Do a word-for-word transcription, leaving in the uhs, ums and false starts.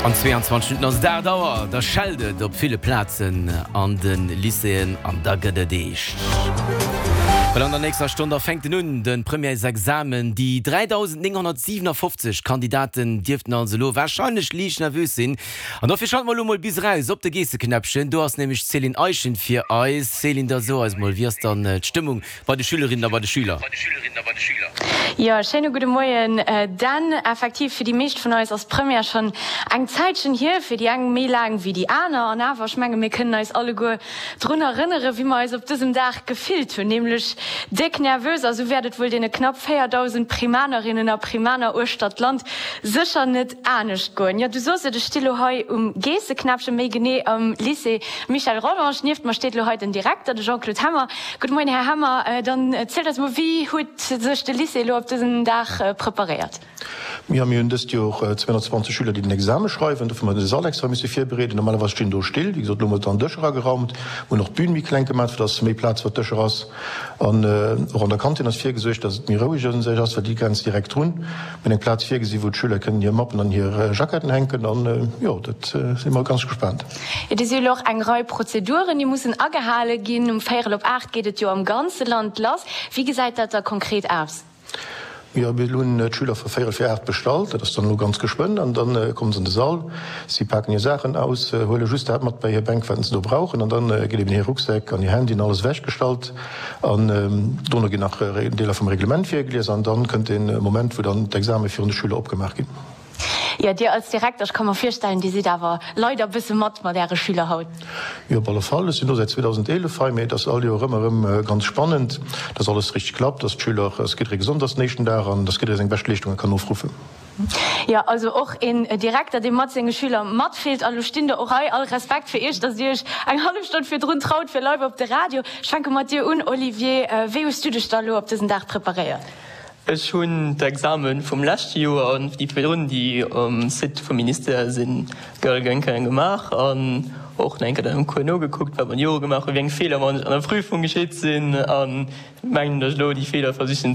An zweeanzwanzeg Minutten ass et aacht Auer, da schellt et op ville Plazen an de Lycéeën an da gëtt et eescht. Well an der nächster Stonn, da fänkt en un, de Premièresexamen. Déi dräidausendnénghonnertsiwenafofzeg Kandidaten dierften also elo warscheinlech liicht nervös sinn. An dofir schalte mer elo mol bis eraus op de Geesseknäppchen. Do ass nämlech d'Céline Eischen fir eis. Céline, da so eis mol, wéi ass dann d'Stëmmung bei de Schülerinnen a bei de Schüler? Jo, schéine gudde Moien Dan. Effektiv, fir déi meescht vun eis ass d'Première schonn eng Zäitchen hier, fir déi eng méi laang wéi déi aner. An awer, ech menge mir kënnen eis alleguer drun erënnere wéi mer eis op dësem Dag gefillt hunn, nämlech déck nervös. A sou wäert et wuel deene knapp véierdausend Primanerinnen a Primaner uechter d'Land sécher net anescht goen. Jo, du sos et, ech sti lo hei um Geesseknäppchen, méi genee am Lycée Michel Rodange. Nieft mer steet lo hei den Direkter, de Jean-Claude Hemmer. Gudde Moien, Här Hemmer. Dann zielt eis mol, wéi huet sech de Lycée elo op dësen Dag preparéiert? Jo, mir hunn dëst Joer zweehonnertzwanzeg Schüler, déi den Exame schreiwen. Dofir hu mer de Sall extra misse virbereeden. Normalerweis stinn do Still. Wéi gesot, elo hu mer dann Dëscher ageraumt. Mir hunn och d'Bün méi kleng gemaach, fir dass méi Plaz fir d'Dëscher ass. An och an der Kantin ass virgesuergt, dass et méi roueg un sech ass, well déi grenzt direkt drun. Mir hunn eng Plaz virgesi wou d'Schüler kënnen hir Mappen an hir Jacketten hänken. An jo, dat si mer ganz gespaant. Et si jo elo och eng Rei Prozeduren, déi mussen agehale ginn. Um véierel op aacht geet et jo am ganze Land lass. Wéi gesäit dat da konkret aus? Jo, mir hunn d'Schüler vu véierel vir aacht bestallt. Dat ass dann elo ganz geschwënn. An da kommen se an de Sall. Si paken hir Saachen aus, huele just dat mat bei hir Bänk, wat se do brauchen. An da gëtt eben hir Rucksäck an hir Handyen alles ewechgestallt. An dono ginn nach Deeler vum Reglement virgelies. An dann kënnt dee Moment, wou dann d'Exame virun de Schüler opgemaach ginn. Jo, Dir als Direkter, ech ka mer virstellen, Dir sidd awer leider e bësse mat mat Äre Schüler haut. Jo, op alle Fall. Ech sinn elo säit zweedausendeelef hei, mee et ass all Joer ëmmer erëm ganz spannend, dass alles richteg klappt, dass d'Schüler, dass jidderee gesond ass den éischten Dag an dass jidderee seng bescht Leeschtunge kann ofruffen. Jo, also och een Direkter, dee mat senge Schüler matfillt. A lo stinn der och hei. All Respekt fir Iech, dass Dir Iech eng hallef Stonn virdrun traut fir live op de Radio. Ech fänke mat dir un, Olivier. Wéi hues du dech da elo op dësen Dag preparéiert? Ech hunn d'Examen vum leschte Joer an déi virdrun, déi um Site vum Ministère sinn, gëll gemaach an och nach eng Kéier dann am Cours nogekuckt, wat mer d'Jore gemaach hunn, wéi eng Feeler mer an der Prüfung geschitt sinn an mengen, datt ech elo déi Feeler versichen